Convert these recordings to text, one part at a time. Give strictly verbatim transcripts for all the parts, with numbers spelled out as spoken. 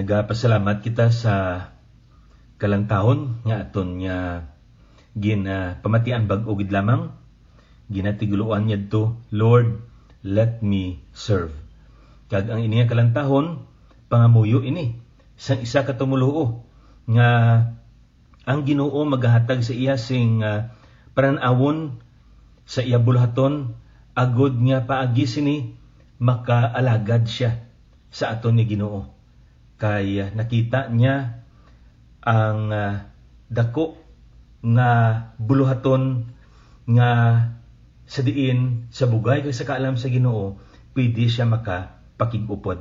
Nagapasalamat kita sa kalantahon nga aton nga gin, ah, pamatian bag-o gid lamang. Ginatiguloan niya to, "Lord, let me serve." Kag ang ini nga kalantahon, pangamuyo ini sang isa ka tumoluo nga ang Ginoo magahatag sa iya sing, ah, panan-awon sa iya buluhaton, agod nga paagi sini makaalagad sia sa aton nga Ginoo. Kay, ah, nakita niya ang, ah, dako nga buluhaton nga sa diin sa bugay kag sa kaalam sa Ginoo, pwede siya makapakig-upod.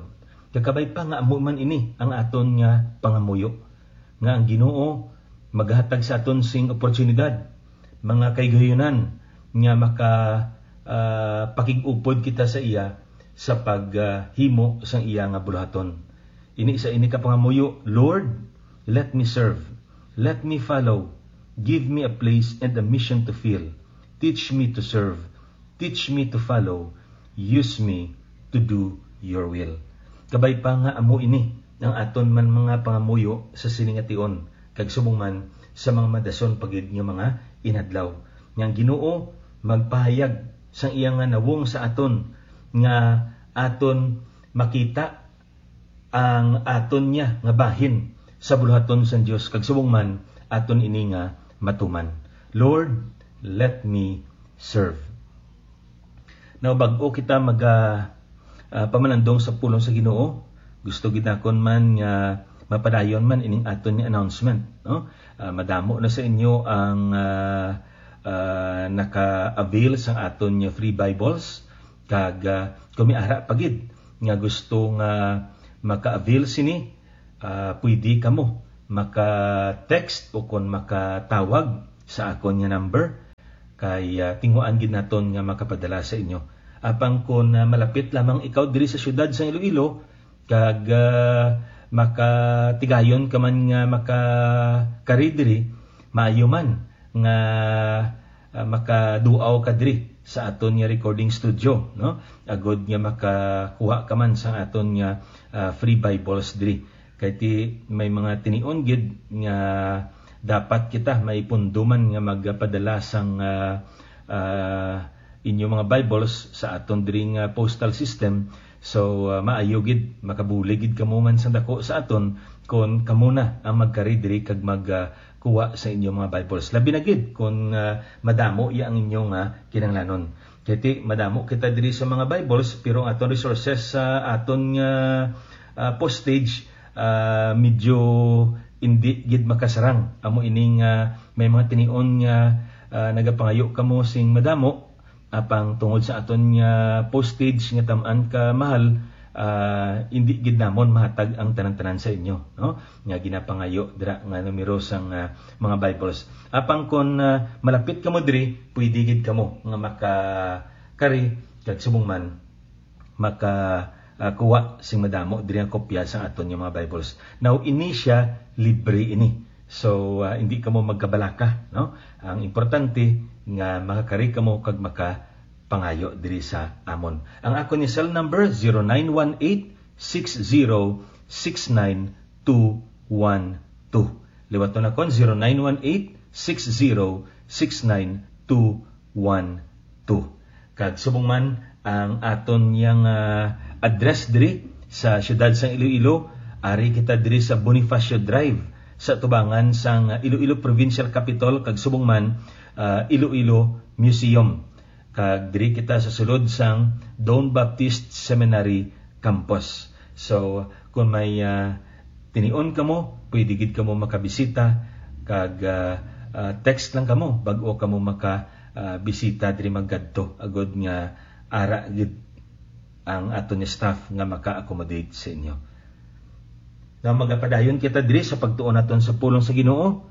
Kakabay pa nga amo man ini ang aton nga pangamuyo, nga ang Ginoo maghatag sa aton sing oportunidad, mga kahigayonan nga maka, ah, pakig-upod kita sa iya sa pag, ah, himo sang iya nga buluhaton. Ini sa ini ka pangamuyo, "Lord, let me serve. Let me follow. Give me a place and a mission to fill. Teach me to serve. Teach me to follow. Use me to do your will." Kabay pa nga amo ini ang aton man mga pangamuyo sa sini nga tion, kag subong man sa mga madason pa gid nga mga inadlaw. Nga ang Ginoo magpahayag sang iya nga nawong sa aton, nga aton makita ang aton niya nga bahin sa buluhaton sang Dios, kag subong man aton ini nga matuman. "Lord, let me serve." Now, bag-o kita maga, ah, pamalandong sa pulong sa Ginoo, gusto gid nakon man nga mapadayon man ining aton nga announcement, no? Ah, madamo na sa inyo ang, ah, ah, naka-avail sang aton nga free Bibles, kag, ah, kung may ara pa gid nga gusto nga maka-avail sini, ah, pwede kamo maka-text o kon makatawag sa akon nga number, kay, ah, tinguhaan gid naton nga makapadala sa inyo. Apang kon, ah, malapit lamang ikaw diri sa siyudad sang Iloilo, kag, ah, makatigayon ka man nga makakari diri, maayo man nga, ah, makaduaw ka diri sa aton nga recording studio, no? Agod nga makakuha ka man sa aton nga, ah, free Bibles diri. Kay ti may mga tinion gid nga dapat kita may pundo man nga magpadala sang, ah, ah, inyo mga Bibles sa aton diri nga postal system. So, ah, maayo gid, makabulig gid kamo man sang dako sa aton kon kamo na ang magkari diri kag mag, ah, kuha sa inyo mga Bibles. Labi na gid kon, ah, madamo iya ang inyo nga kinahanglanon. Kay ti madamo kita diri sa mga Bibles, pero ang aton resources sa aton nga, ah, postage, ah, medyo indi gid makasarang. Amo ining, ah, may mga tinion nga, ah, nagapangayo kamo sing madamo, apang tungod sa aton nga postage nga tam-an ka mahal, ah, indi gid namon mahatag ang tanan-tanan sa inyo, no? Nga ginapangayo dira nga numero sang, ah, mga Bibles. Apang kon, ah, malapit kamo diri, pwede gid kamo nga makakari kag subong man maka, ah, kuha sing madamo diri ang kopya sa aton nga mga Bibles. Now, ini sia libre ini. So, ah, hindi kamo magkabalaka, no? Ang importante nga makakari kamo kag makapangayo diri sa amon. Ang akon ni cell number, zero nine one eight, six zero, six nine two one two. Liwaton nakon, zero nine one eight, six zero, six nine two one two. Kag subong man ang aton yang, ah, address diri sa siyudad sang Iloilo, ari kita diri sa Bonifacio Drive, sa tubangan sang Iloilo Provincial Capitol, kag subong man, ah, Iloilo Museum. Kag diri kita sa sulod sang Don Baptist Seminary Campus. So, kung may, ah, tinion kamo, pwede gid kamo makabisita, kag, ah, ah, text lang kamo bag-o kamo maka, ah, bisita diri magkadto, agod nga ara gid ang aton nga staff nga maka-accommodate sa inyo. Now, magapadayon kita diri sa pagtuon naton sa pulong sa Ginoo,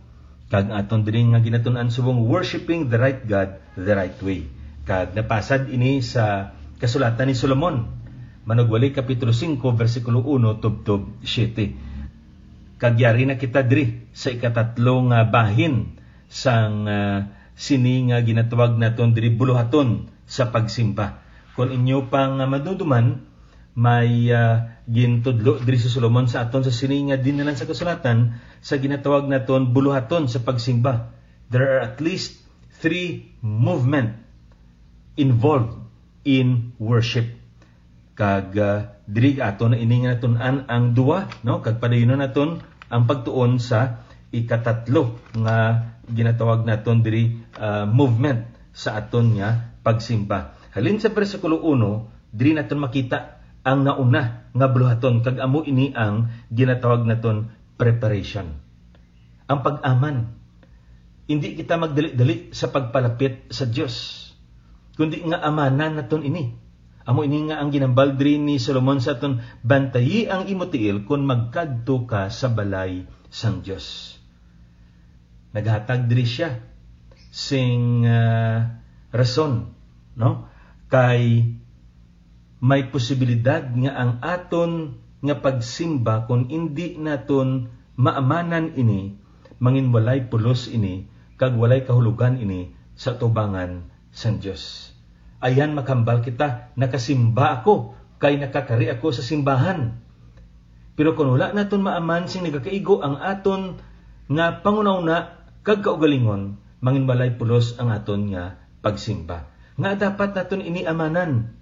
kag aton diri nga ginatun-an subong Worshiping the Right God the Right Way. Kag napasad ini sa kasulatan ni Solomon, Manugwali, Kapitulo singko, bersikulo uno tubtob siete. Kag yari na kita diri sa ikatatlo nga bahin sang, ah, sini nga ginatawag naton diri buluhaton sa pagsimba. Kon inyo pang, ah, maduduman, may, ah, Gintudlo diri si Solomon sa aton sa sini nga dinalan sa kasulatan sa ginatawag naton buluhaton sa pagsimba. There are at least three movement involved in worship. Kag, ah, diri ato na ini nga natun-an ang duwa, no? Kag padayunon naton ang pagtuon sa ikatatlo nga ginatawag naton diri, ah, movement sa aton nga pagsimba. Halin sa bersikulo uno, diri naton makita ang nauna nga buluhaton, kag amo ini ang ginatawag naton preparation. Ang pag-aman. Indi kita magdali-dali sa pagpalapit sa Dios, kundi nga amanan naton ini. Amo ini nga ang ginambal diri ni Solomon sa aton, "Bantayi ang imo tiil kon magkadto ka sa balay sang Dios." Naghatag diri siya sing, ah, rason, no? Kay may posibilidad nga ang aton nga pagsimba, kon indi naton maamanan ini, mangin walay pulos ini, kag walay kahulogan ini sa atubangan sang Dios. Ayan, makahambal kita, "Nakasimba ako, kay nakakari ako sa simbahan." Pero kon wala naton maaman sing nagakaigo ang aton nga panghunahuna kag kaugalingon, mangin walay pulos ang aton nga pagsimba. Nga dapat naton ini amanan.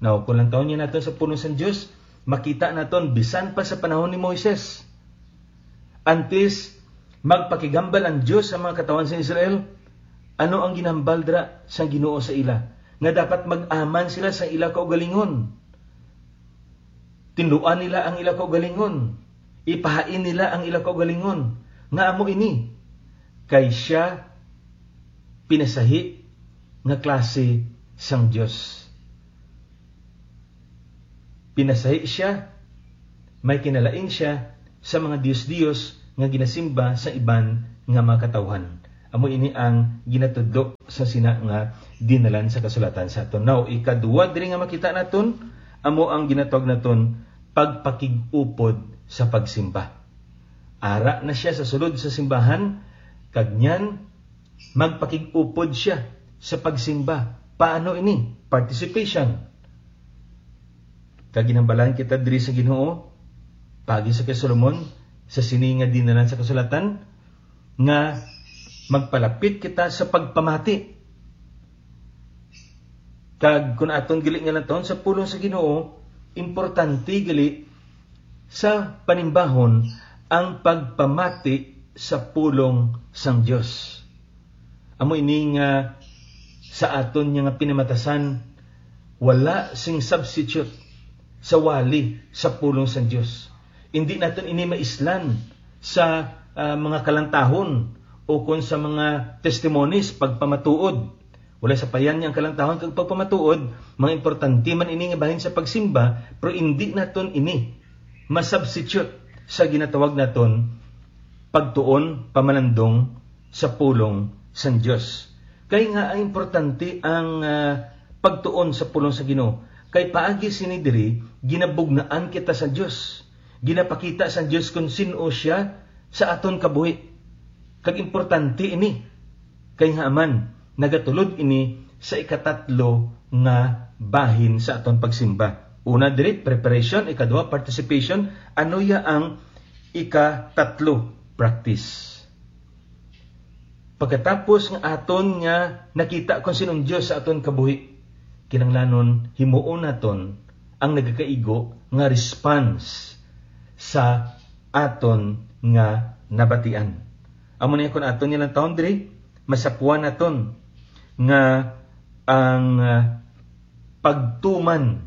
Now, kung lantawon niya naton sa pulong sang Dios, makita naton bisan pa sa panahon ni Moises. Antes magpakigambal ang Dios sa mga katawhan sa Israel, ano ang ginambal dira sang Ginoo sa ila? Nga dapat mag-aman sila sa ila kaugalingon. Tinluan nila ang ila kaugalingon. Ipahain nila ang ila kaugalingon. Nga amo ini, kay sia pinasahi nga klase sang Dios. Pinasahi sia, may kinalain sia sa mga dios-dios nga ginasimba sa iban nga mga katawhan. Amo ini ang ginatudlo sa sina nga dinalan sa kasulatan sa aton. Now, ikadua diri nga makita naton, amo ang ginatawag naton pagpakig-upod sa pagsimba. Ara na sia sa sulod sa simbahan, kag niyan magpakig-upod sia sa pagsimba. Paano ini? Participation. Kag ginhambalan kita diri sa Ginoo, paagi sa kay Solomon, sa sini nga dinalan sa kasulatan, nga magpalapit kita sa pagpamati. Kag kun aton gali nga lantawon sa pulong sa Ginoo, importante gali sa panimbahon ang pagpamati sa pulong sang Dios. Amo ini nga sa aton niya nga pinamatasan, wala sing substitute sa wali sa pulong sang Dios. Indi naton ini maislan sa, ah, mga kalantahon o kon sa mga testimonies, pagpamatuod. Wala sa payan niya ang kalantahon kag pagpamatuod, mga importante man ini nga bahin sa pagsimba, pero indi naton ini ma-substitute sa ginatawag naton pagtuon, pamalandong sa pulong sang Dios. Kay nga ang importante ang, ah, pagtuon sa pulong sa Ginoo. Kay paagi sini diri, ginabugnaan kita sa Dios. Ginapakita sang Dios kon sin-o siya sa aton kabuhi. Kag importante ini. Kay nga man, nagatulod ini sa ikatatlo nga bahin sa aton pagsimba. Una diri, preparation, ikaduha, participation, ano ya ang ikatatlo, practice. Pagkatapos nga aton nga nakita kon sin-o ang Dios sa aton kabuhi, kinahanglanon himuon naton ang nagakaigo nga response sa aton nga nabatian. Amo na kon aton nilang taon diri, masapuan naton nga ang, ah, pagtuman,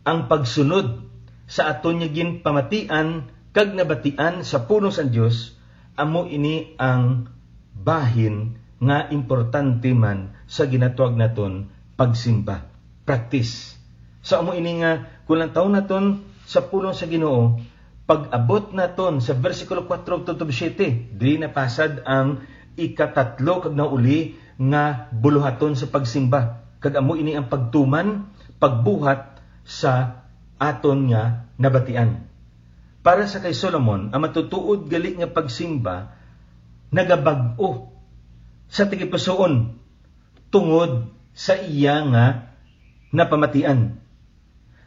ang pagsunod sa aton nga ginpamatian kag nabatian sa pulong sang Dios, amo ini ang bahin nga importante man sa ginatawag naton pagsimba, practice. So, amo ini nga kung lantawon naton sa pulong sa Ginoo, pag-abot naton sa bersikulo kuwatro tubtob siyete, diri napasad ang ikatatlo kag nauli nga buluhaton sa pagsimba, kag amo ini ang pagtuman, pagbuhat sa aton nga nabatian. Para sa kay Solomon, ang matutuod gali nga pagsimba nagabag-o sa tagipusoon tungod sa iya nga napamatian.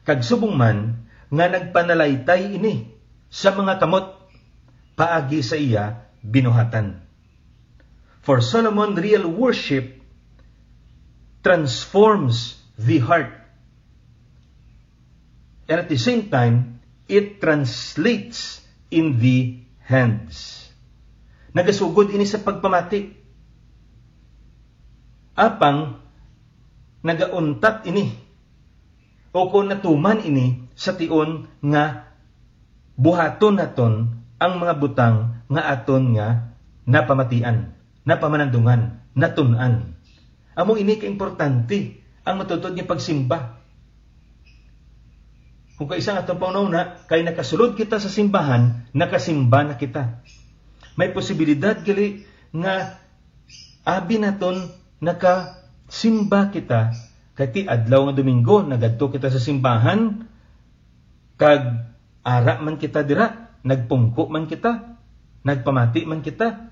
Kag subong man, nga nagpanalaytay ini sa mga kamot paagi sa iya binuhatan. For Solomon, real worship transforms the heart. And at the same time, it translates in the hands. Nagasugod ini sa pagpamati. Apang nagauntat ini, o kon natuman ini sa tion nga buhaton naton ang mga butang nga aton nga napamatian, napamanandungan, natun-an. Amo ini ka importante ang matuod nga pagsimba. Kung kaisa nga atong panghunahuna, kay nakasulod kita sa simbahan, nakasimba na kita. May posibilidad gali nga abi naton nakasimba kita, kay ti adlaw nga Domingo nagadto kita sa simbahan, kag ara man kita dira, nagpungko man kita, nagpamati man kita,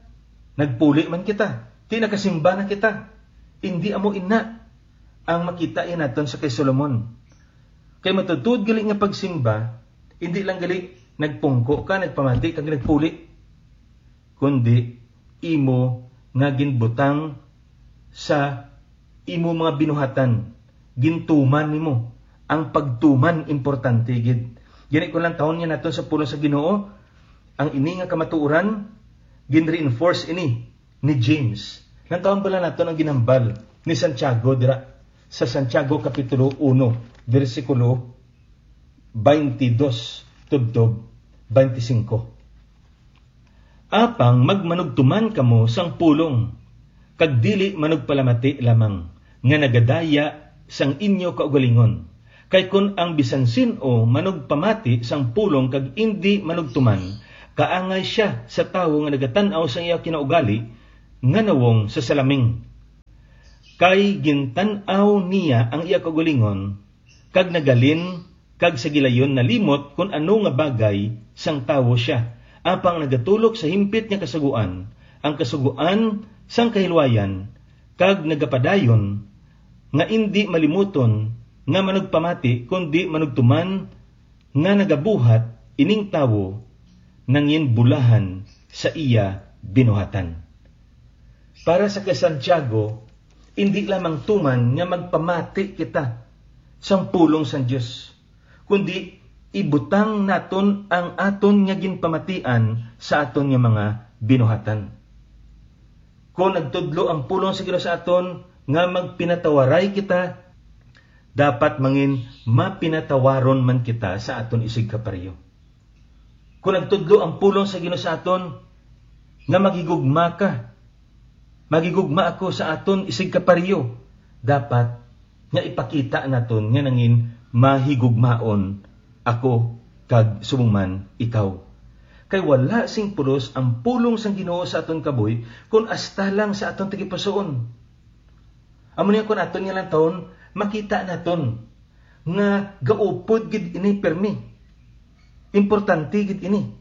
nagpuli man kita, ti nakasimba na kita. Indi amo ina ang makita iya naton sa kay Solomon. Kay matuod gali nga pagsimba, indi lang gali nagpungko ka, nagpamati kag nagpuli, kundi imo nga ginbutang sa imo mga binuhatan, gintuman nimo. Ang pagtuman importante gid. Gani, kung lantawon niya naton sa pulong sa Ginoo, ang ini nga kamatuoran, gin-reinforce ini ni James. Lantawon bala naton ang ginhambal ni Santiago dira sa Santiago Kapitulo uno, bersikulo twenty-two tubtob twenty-five. Apang magmanugtuman kamo sang pulong, kag dili manugpalamati lamang nga nagadaya sang inyo kaugalingon. Kay kon ang bisan sin-o manugpamati sang pulong kag indi manugtuman, kaangay sia sa tawo nga nagatan-aw sang iya kinaugali nga nawong sa salaming. Kay gintan-aw niya ang iya kaugalingon, kag nagalin, kag sa gilayon nalimot kon ano nga bagay sang tawo sia, apang nagatulok sa himpit nga kasugoan, ang kasugoan sang kahilwayan, kag nagapadayon nga indi malimuton nga manugpamati, kundi manugtuman nga nagabuhat ining tawo nangin bulahan sa iya binuhatan. Para sa kay Santiago, indi lamang tuman nga magpamati kita sang pulong sang Dios, kundi ibutang naton ang aton nga ginpamatian sa aton nga mga binuhatan. Kon nagtudlo ang pulong sa Ginoo sa aton nga magpinatawaray kita, dapat mangin mapinatawaron man kita sa aton isigkapariyo. Kon nagtudlo ang pulong sa Ginoo sa aton nga maghigugma ka, maghigugma ako sa aton isigkapariyo, dapat nga ipakita naton nga nangin mahigugmaon ako kag subong man ikaw. Kay wala sing pulos ang pulong sang Ginoo sa aton kabuhi kon hasta lang sa aton tagipusoon. Amo niya kon aton nga lantawon, makita naton nga gaupod gid ini pirmi. Importante gid ini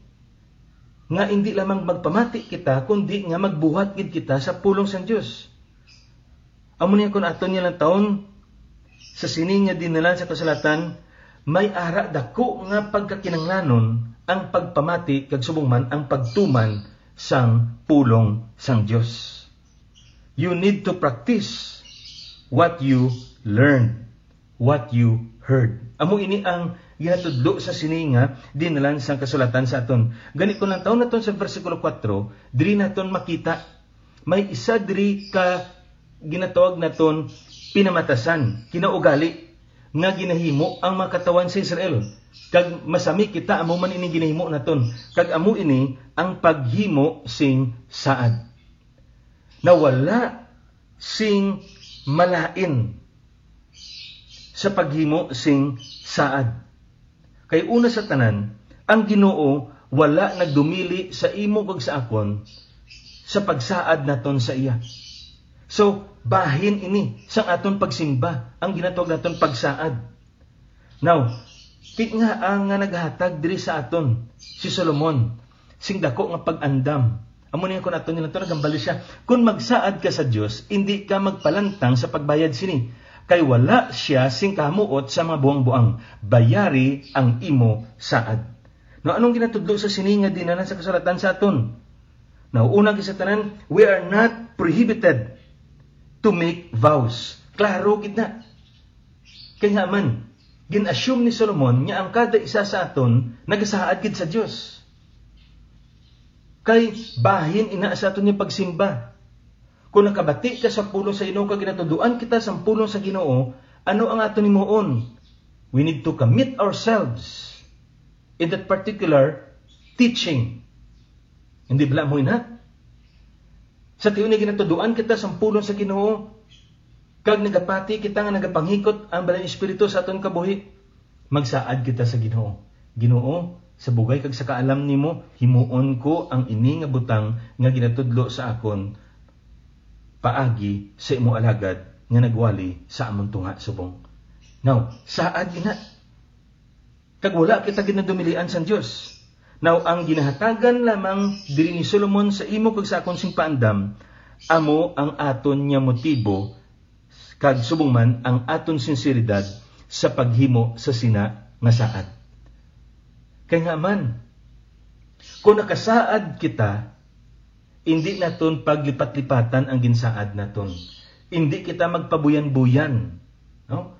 nga indi lamang magpamati kita, kundi nga magbuhat gid kita sa pulong sang Dios. Amo niya kon aton nga lantawon, sa sini nga dinalan sa kasulatan, may ara dako nga pagkakinahanglanon ang pagpamati kag subong man ang pagtuman sang pulong sang Dios. You need to practice what you learned, what you heard. Amo ini ang ginatudlo sa sini nga dinalan sang kasulatan sa aton. Gani, kung lantawon naton sa bersikulo kuwatro, diri naton makita may isa diri ka ginatawag naton pinamatasan, kinaugali nga ginahimo ang mga katawhan sa Israel. Kag masami kita, amo man ini ginahimo naton. Kag amo ini ang paghimo sing saad. Nawala sing malain sa paghimo sing saad. Kay una sa tanan, ang Ginoo wala nagdumili sa imo kag sa akon sa pagsaad naton sa iya. So, bahin ini sang aton pagsimba, ang ginatawag naton pagsaad. Now, ti nga ang nga naghatag diri sa aton si Solomon sing dako nga pag-andam. Amo niya kon aton nila to, nagambali siya. Kung magsaad ka sa Dios, indi ka magpalantang sa pagbayad sini. Kay wala sia sing kahamuot sa mga buang-buang. Bayari ang imo saad. Now, anong ginatudlo sa sini nga dinala sa kasulatan sa aton? Now, una, gid sa tanan, we are not prohibited to make vows. Klaro gid na. Kay nga man, gin-assume ni Solomon nga ang kada isa sa aton nagasaad gid sa Dios. Kay bahin ina sa aton nga pagsimba. Kung nakabati ka sa pulong sa Ginoo, kag ginatuduan kita sa pulong sa Ginoo, ano ang aton himuon? We need to commit ourselves in that particular teaching. Hindi bala mo ina? Sa tiyon nga ginatuduan kita sa pulong sa Ginoo, kag nagapati kita nga nagapanghikot ang Balaang Espiritu sa aton kabuhi, magsaad kita sa Ginoo. Ginoo, sa bugay kag sa kaalam nimo, himuon ko ang ini nga butang nga ginatudlo sa akon paagi sa imo alagad nga nagwali sa amon tunga subong. Now, saad ina. Kag wala kita ginadumilian sang Dios. Now, ang ginahatagan lamang diri ni Solomon sa imo kag sa akon sing paandam, amo ang aton nga motibo, kag subong man ang aton sinseridad sa paghimo sa sina nga saad. Kay nga man, kung nakasaad kita, indi naton paglipat-lipatan ang ginsaad naton. Indi kita magpabuyan-buyan, no?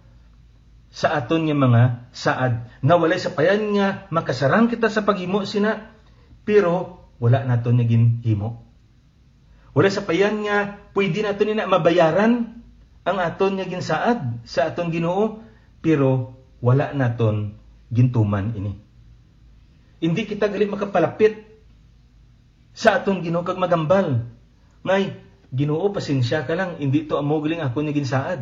Sa aton nga mga saad, nga walay sapayan nga makasarang kita sa paghimo sina, pero wala naton nga ginhimo. Walay sapayan nga pwede naton ina mabayaran ang aton nga ginsaad sa aton Ginoo, pero wala naton gintuman ini. Indi kita gali makapalapit sa aton Ginoo kag maghambal, "Ngay, Ginoo, pasensya ka lang, indi to amo gali ang akon nga ginsaad."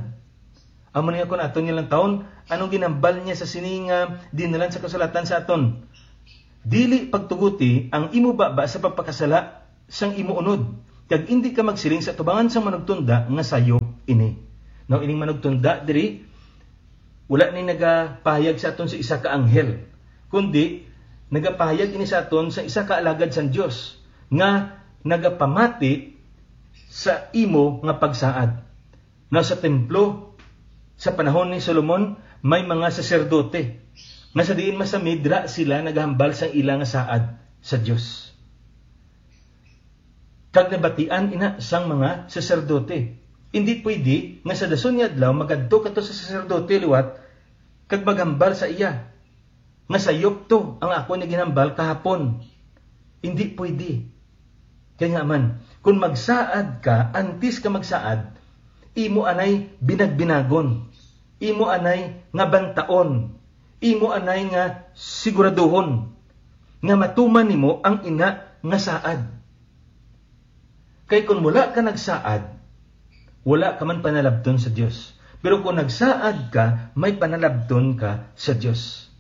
Amo ni nga kon aton nga lantawon, anong ginhambal niya sa sini nga dinalan sa kasulatan sa aton? "Dili pagtuguti ang imo baba sa pagpakasala sang imo unod, kag indi ka magsiling sa atubangan sang manugtunda nga sayop ini." Now, ining manugtunda diri, wala ni nagapahayag sa aton sa isa ka anghel, kundi nagapahayag ini sa aton sa isa ka alagad sang Dios nga nagapamati sa imo nga pagsaad. Now, sa templo, sa panahon ni Solomon, may mga saserdote nga sa diin masami dira sila nagahambal sang ila nga saad sa Dios. Kag nabatian ina sang mga saserdote. Indi pwede nga sa dason nga adlaw magadto ka to sa saserdote liwat kag maghambal sa iya nga sayop to ang ako nga ginhambal kahapon. Indi pwede. Kay nga man, kung magsaad ka, antes ka magsaad, imo anay binagbinagon, imo anay nga bantaon, imo anay nga siguraduhon nga matuman nimo ang ina nga saad. Kay kung wala ka nagsaad, wala ka man panalabton sa Dios. Pero kung nagsaad ka, may panalabton ka sa Dios.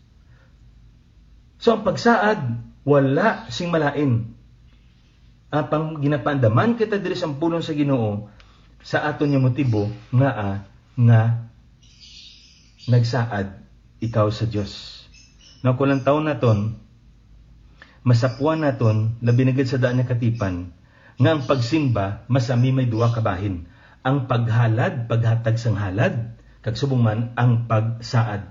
So, ang pagsaad, wala sing malain. Apang ginapaandaman kita diri sa pulong sa Ginoo sa aton nga motibo nga, ah, nga nagsaad ikaw sa Dios. Now, kung lantawon naton, masapuan naton, labi na gid sa daan nga katipan, nga ang pagsimba masami may duha ka bahin, ang paghalad, paghatag sang halad, kag subong man ang pagsaad,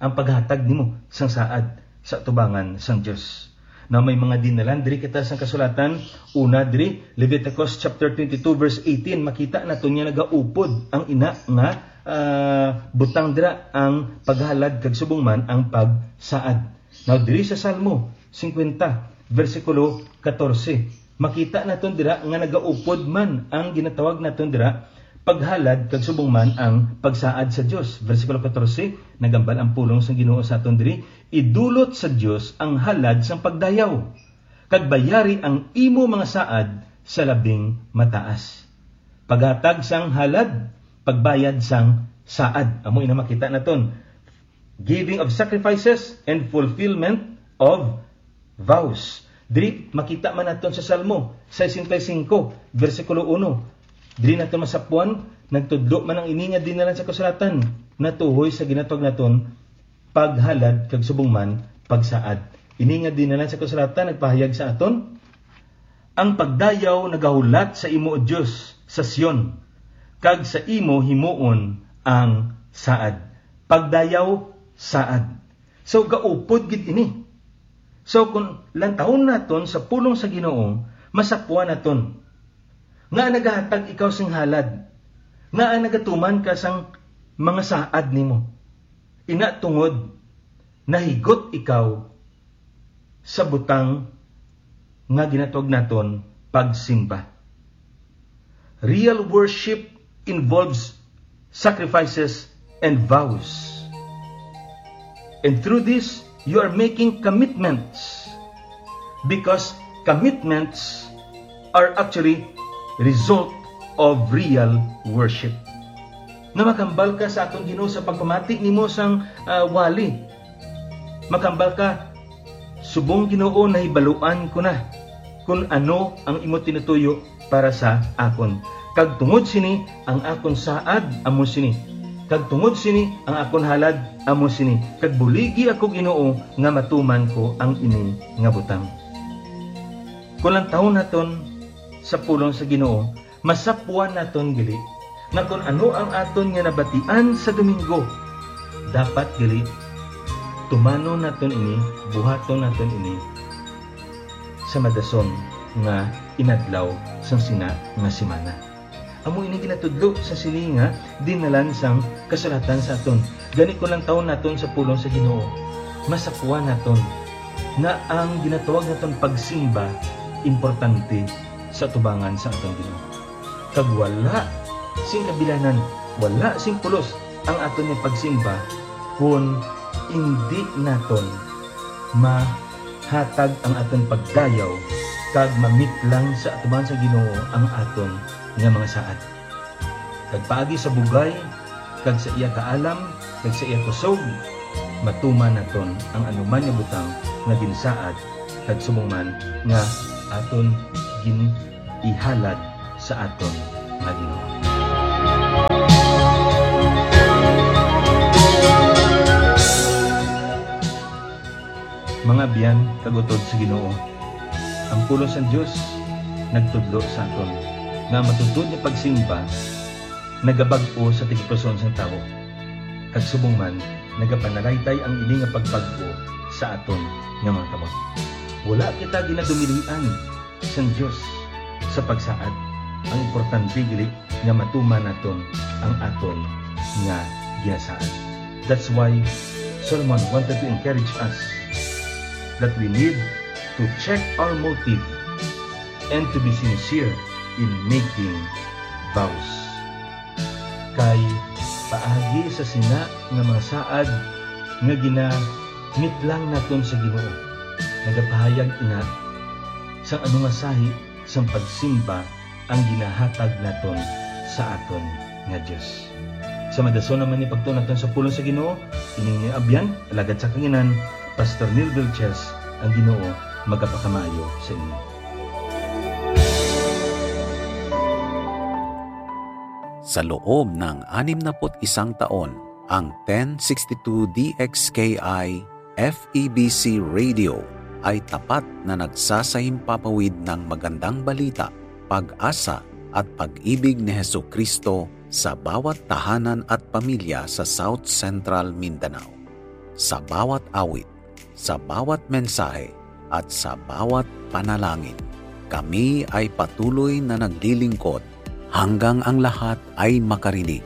ang paghatag nimo sang saad sa atubangan sang Dios. Na may mga dinalan diri kita sang kasulatan, una diri, Leviticus chapter twenty-two, verse eighteen, makita naton nga nagaupod ang ina nga, ah, butang dira ang paghalad kag subong man ang pagsaad. Now, diri sa Salmo fifty, versikulo katorse, makita naton dira nga nagaupod man ang ginatawag naton dira paghalad kag subong man ang pagsaad sa Dios. Versikulo katorse, nagambal ang pulong sang Ginoo sa aton diri, "Idulot sa Dios ang halad sang pagdayaw, kag bayari ang imo mga saad sa labing mataas." Paghatag sang halad, pagbayad sang saad. Amo ina makita naton. Giving of sacrifices and fulfillment of vows. Diri, makita man naton sa Salmo sesenta y cinco, versikulo uno. Diri naton masapuan, nagtudlo man ang ini nga dinalan sa kasulatan, natuhoy sa ginatawag naton paghalad kag subong man pagsaad. Ini nga dinalan sa kasulatan nagpahayag sa aton, "Ang pagdayaw nagahulat sa imo, O Dios, sa Sion, kag sa imo himuon ang saad. Pagdayaw, saad. So, gaupod gid ini. So, kung lantawon naton sa pulong sa Ginoo, masapwan naton nga nagahatag ikaw sing halad, nga nagatuman ka sang mga saad nimo. Ina tungod nahigot ikaw sa butang nga ginatawag naton pagsimba. Real worship involves sacrifices and vows. And through this, you are making commitments, because commitments are actually result of real worship. Nga makambal ka sa aton Ginoo sa pagpamati nimo sang, ah, wali. Makambal ka, "Subong, Ginoo, nahibaluan ko na kon ano ang imo tinutuyo para sa akon. Kag tungod sini, ang akon saad amo sini. Kag tungod sini, ang akon halad amo sini. Kag buligi ako, Ginoo, nga matuman ko ang ini nga butang." Kung lantawon naton sa pulong sa Ginoo, masapwan naton gali nga kon ano ang aton nga nabatian sa Domingo, dapat gali tumanon naton ini, buhaton naton ini sa madason nga inadlaw sang sina nga semana. Amo ini ginatudlo sa sini nga dinalan sang kasulatan sa aton. Gani, kung lantawon naton sa pulong sa Ginoo, masapwan naton nga ang ginatawag naton pagsimba importante sa atubangan sa aton Ginoo. Kag wala sing kabilanan, wala sing pulos ang aton nga pagsimba kon indi naton mahatag ang aton pagdayaw kag mamitlang sa atubangan sa Ginoo ang aton nga mga saad. Kag paagi sa bugay kag sa iya kaalam kag sa iya kusog, matuman naton ang anuman nga butang nga ginsaad kag subong man nga aton gin-ihalad sa aton nga Ginoo. Mga abyan kag utod sa Ginoo, ang pulong sang Dios nagtudlo sa aton nga ang matuod nga pagsimba nagabag-o sa tigpuson sang tawo, kag subong man nagapanalaytay ang ini nga pagbag-o sa aton nga mga kamot. Wala kita ginadumilian sang Dios sa pagsaad. Ang importante gali nga matuman naton ang aton nga ginasaad. That's why Solomon wanted to encourage us that we need to check our motive and to be sincere in making vows. Kay paagi sa sina nga mga saad nga ginamitlang naton sa Ginoo, nagapahayag ina sang ano nga sahi sang pagsimba ang ginahatag naton sa aton nga Dios. Sa madason naman ni pagtuon naton sa pulong sa Ginoo, ining inyong abyan, alagad sa kanginan, Pastor Neil Vilches, ang Ginoo magapakamaayo sa inyo. Sa loob ng anim na put isang taon, ang ten sixty-two D X K I F E B C Radio ay tapat na nagsasahimpapawid ng magandang balita, pag-asa, at pag-ibig ni Jesu-Cristo sa bawat tahanan at pamilya sa South Central Mindanao. Sa bawat awit, sa bawat mensahe, at sa bawat panalangin, kami ay patuloy na naglilingkod hanggang ang lahat ay makarinig.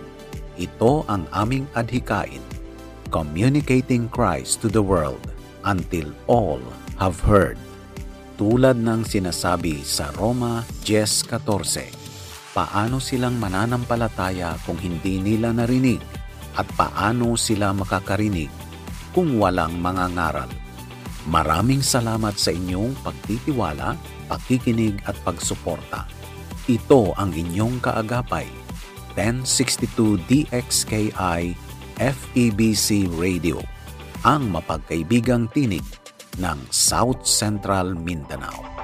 Ito ang aming adhikain, communicating Christ to the world until all have heard. Tulad ng sinasabi sa Roma diyes katorse, "Paano silang mananampalataya kung hindi nila narinig? At paano sila makakarinig kung walang mga ngaral?" Maraming salamat sa inyong pagtitiwala, pakikinig at pagsuporta. Ito ang inyong kaagapay, ten sixty-two D X K I F E B C Radio, ang mapagkaibigang tinig ng South Central Mindanao.